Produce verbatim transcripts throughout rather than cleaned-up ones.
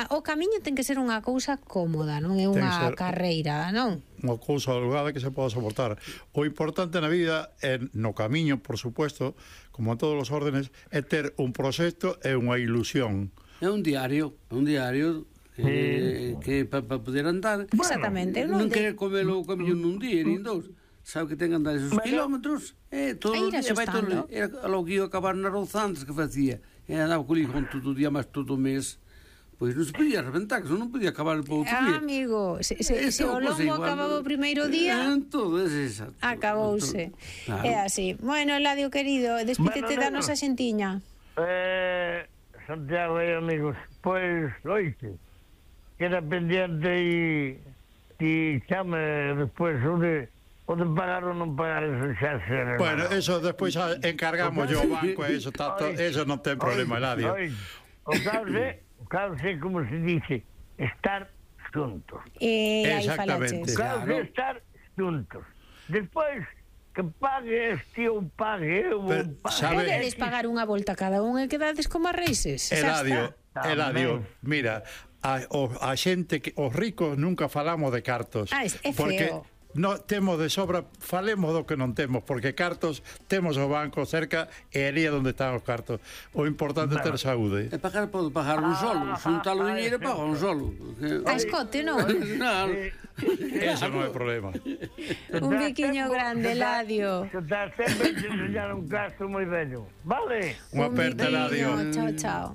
o camiño ten que ser unha cousa cómoda, non é unha carreira, non? Unha cousa holgada que se poda soportar. O importante na vida é, no camiño, por supuesto, como en todos os órdenes, é ter un proxecto e unha ilusión. É un diario, un diario eh, que para pa poder andar. Exactamente. Non querer comelo o camiño nun día, nin dous. Sabe que ten que andar esos kilómetros, eh, todo o día, vai todo, era lo que iba a acabar na Rouza antes que facía. E andaba co hijo todo o día, máis todo o mes. Pois non se podía reventar, que non podía acabar por outro día. Ah, amigo, se, se, se o lombo acababa o primeiro día, todo é exacto. Acabouse. Claro. É así. Bueno, Eladio querido, despídete bueno, da nosa xentiña. Eh, Santiago e amigos, pois, loite, queda pendiente e ti chame despois onde o de pagar ou non pagar, eso xa se... Bueno, eso despois encargamos yo o banco, eso, tato, eso non ten problema, Eladio. O cause... Claro, sei como se dice, estar xuntos. Eh, Exactamente. Claro, claro, estar xuntos. Despois, que pague este ou pague eu ou pague. Podedes pagar unha volta cada un e quedades como a reises. Eladio, Eladio, mira, a, o, a xente, que, os ricos nunca falamos de cartos. Ah, é feo. Porque no temos de sobra, falemos do que non temos, porque cartos temos o banco cerca e ali é onde están os cartos. O importante é ter saúde. E pagar pode pagar un solo, xuntar o dinheiro e pagar un solo. A escote, non? Non. Eso non é problema. Un biquiño grande, Eladio. Está sempre se enseñar un caso moi bello. Vale? Unha aperta, Eladio. Chao, chao.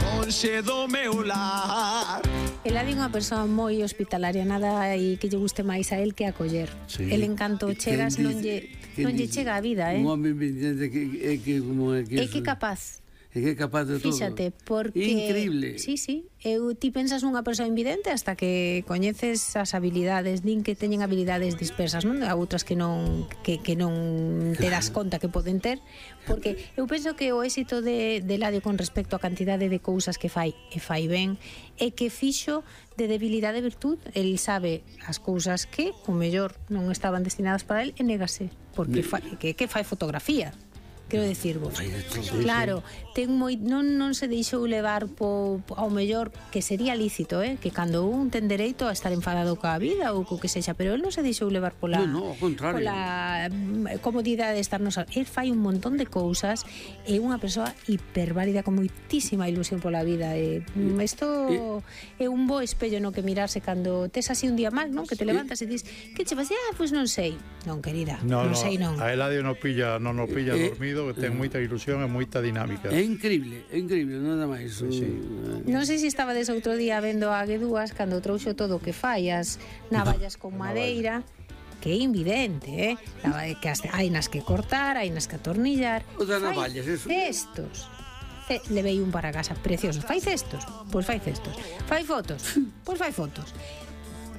Lonxe do meu lar. Eladio é unha persoa moi hospitalaria, nada e que lle guste máis a él que acoller. Sí. El encanto chegas non lle non lle chega a vida, eh. Un home que é que como é que é que capaz. É que é capaz de todo. Fíxate, porque... Increíble. Sí, sí. Eu, ti pensas nunha persoa invidente hasta que coñeces as habilidades, din que teñen habilidades dispersas, non? Há outras que non que, que non te das conta que poden ter, porque eu penso que o éxito de, de Eladio con respecto á cantidade de cousas que fai, e fai ben, é que fixo de debilidade virtud. El sabe as cousas que, o mellor, non estaban destinadas para el, e negase, porque fai, que, que fai fotografía. Quero dicirvos, claro, ten moi, non, non se deixou levar po, ao mellor, que sería lícito, eh? Que cando un ten dereito a estar enfadado coa vida ou co que sexa, pero el non se deixou levar pola, no, no, ao contrario, pola comodidade de estarnos. El fai un montón de cousas, é unha persoa hiperválida con moitísima ilusión pola vida. E isto é un bo espello no que mirarse cando tes así un día mal, non? Que te levantas e dis, que che vas? Ah, pois non sei. Non, querida, no, non no, sei non. A Eladio non pilla, non o pilla eh, dormido, que ten moita ilusión e moita dinámica. É increíble, é increíble, nada máis. Sí, sí. Non sei se estades outro día vendo a Guedúas cando trouxo todo o que fai, as navallas con madeira, que é invidente, eh? Que hai nas que cortar, hai nas que atornillar. O das navallas, eso. Cestos. Ce levei un para casa precioso. Fai cestos? Pois fai cestos. Fai fotos? Pois fai fotos.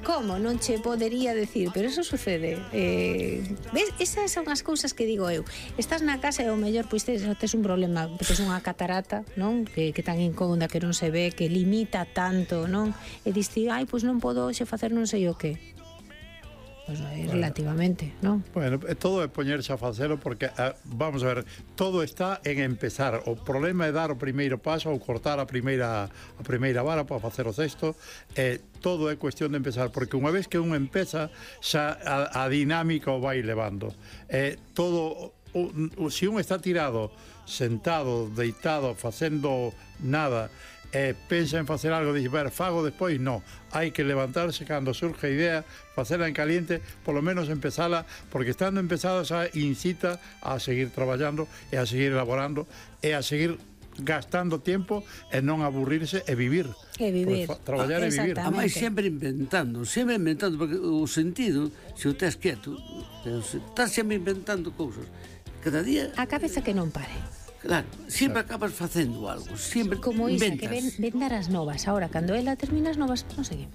Como? Non che podería decir, pero eso sucede. Eh, ves? Esas son as cousas que digo eu. Estás na casa e o mellor pois tes, tes un problema, tes unha catarata, non? Que, que tan incómoda que non se ve, que limita tanto, non? E diste, ai, pois non podo xe facer non sei o que. Pois é relativamente, non? Bueno, todo é poñerse a facelo porque, uh, vamos a ver, todo está en empezar. O problema é dar o primeiro paso ou cortar a primeira a primeira vara para facer o cesto. Eh, todo é cuestión de empezar, porque unha vez que un empeza, xa a, a dinámica o vai levando. Eh, todo, o, o, se un está tirado, sentado, deitado, facendo nada, e eh, pensa en facer algo, dixe, ver, fago despois, no, hai que levantarse cando surge a idea, facela en caliente, polo menos empezala, porque estando empezada xa incita a seguir traballando e a seguir elaborando e a seguir gastando tempo e non aburrirse e vivir. E vivir. Pues, traballar e vivir. A máis sempre inventando, sempre inventando, porque o sentido, se o tes quieto, estás sempre inventando cousas. Cada día... A cabeza que non pare. Claro, sempre acabas facendo algo, sempre como inventas. Como Isa, que ven, ven dar as novas. Ahora, cando ela termina as novas, non seguimos.